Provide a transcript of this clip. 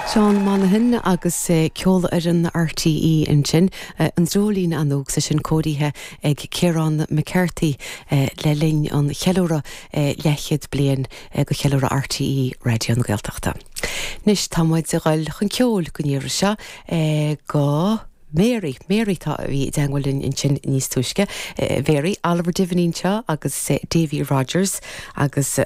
Seán Monaghan agus Ceolfhoireann RTÉ ansin, An Dreoilín Annóg, is é sin cóirithe ag Ciarán McCarthy le linn an cheiliúradh leathchéad bliain de cheiliúradh RTÉ Raidió na Gaeltachta. Anois tá muid ag dul chun ceoil don iarraidh seo go Mary, Mary atá, a bhí i dteangmháil linn ansin níos túisce. Mary, Oliver Diviney anseo agus Davy Rodgers agus.